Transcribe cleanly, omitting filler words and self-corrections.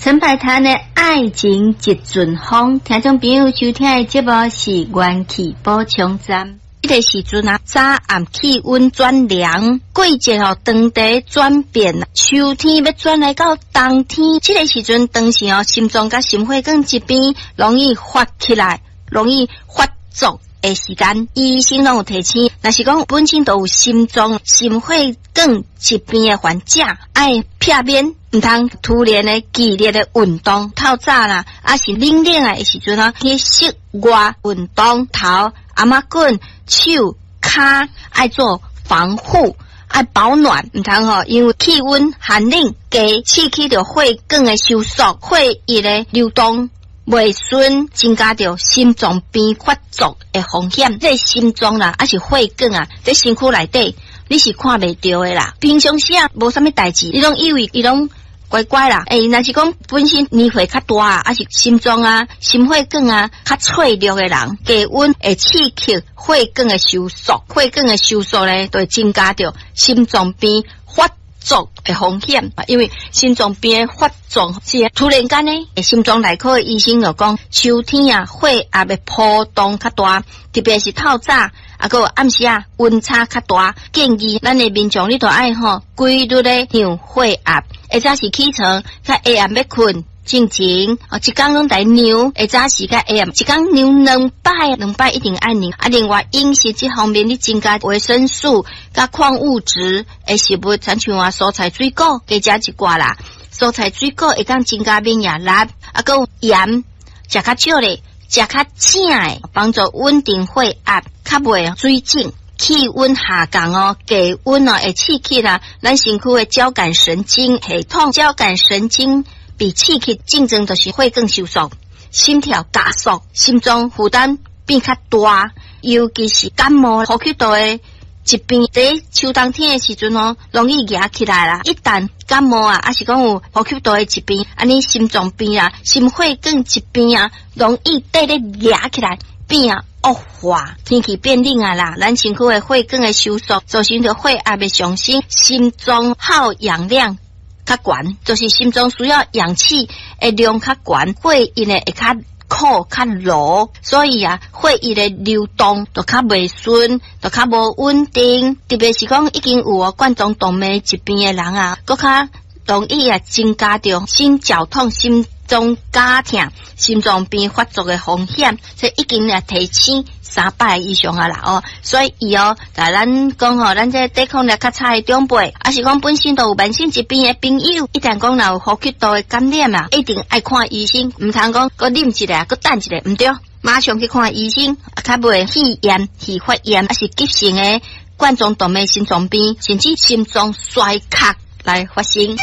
陳百潭的《愛情一陣風》，聽眾朋友收聽的節目是元氣補充站。這個時陣啊，早暗氣溫轉涼，季節吼當地轉變，秋天欲轉來到冬天，這個時陣當時哦，心臟佮心血管疾病容易發起來，容易發作的時間，醫生攏有提醒，若是講本身都有心臟、心血管疾病的患者，愛避免毋通突然的劇烈的運動，透早啦，抑是冷冷的時陣啊，去室外運動，頭、頷仔頸、手、跤愛做防護，愛保暖，毋通吼，因為氣溫寒冷，加刺激著血管的收縮，血液的流動袂順，增加著心臟病發作的風險。這個心臟啦，抑是血管啊，佇身軀內底你是看袂著的啦。平常時啊，無啥物代誌，你攏以為伊攏乖乖啦。欸，若是講本身年歲較大啊，抑是心臟啊、心血管啊較脆弱的人，低溫會刺激血管的收縮，血管的收縮咧，就會增加著心臟病發作的風險。因為心臟病的發作是突然間呢，心臟內科的醫生就講，秋天啊，血壓的波動較大，特別是透早，啊，閣有暗時啊，溫差較大，建議咱的民眾你都愛吼規律的量血壓，下早時起床，較下暗欲睏進前，哦，一工攏來量，下早時佮下暗，一工量兩擺，兩擺一定愛量。啊，另外飲食這方面，你增加維生素佮礦物質的食物，親像啊蔬菜水果，加食一寡啦。蔬菜水果會當增加免疫力，啊，閣有鹽，食較少咧，食較正的，幫助穩定血壓，較袂水腫。氣溫下降哦，低溫哦，會刺激啦，咱身軀的交感神經系統，交感神經被刺激，症狀就是血管收縮、心跳加速、心臟負擔變較大，尤其是感冒、呼吸道的疾病，佇秋冬天的時陣哦，容易惹起來啦。一旦感冒啊，抑是講有呼吸道的疾病，按呢心臟病啊、心血管疾病啊，容易綴咧惹起來變啊惡化。天氣變冷啊啦，咱身軀的血管的收縮，造成著血壓的上升，心臟耗氧量較懸，就是心臟需要氧氣的量較懸，血液呢會較苦較濁，所以啊，血液的流動就較袂順，就較無穩定。特別是講已經有冠狀動脈疾病的人啊，閣較容易啊增加著心絞痛、心臟絞痛、心臟病發作的風險。所以已經啊提醒三擺以上啊啦哦，所以伊哦，共咱講吼，咱這抵抗力較差的長輩，抑是講本身都有慢性疾病的朋友，一旦講若有呼吸道的感染啊，一定愛看醫生，毋通講閣忍一下，閣等一下，毋對，馬上去看醫生，較袂肺炎、肺發炎，抑是急性的冠狀動脈心臟病，甚至心臟衰竭來發生。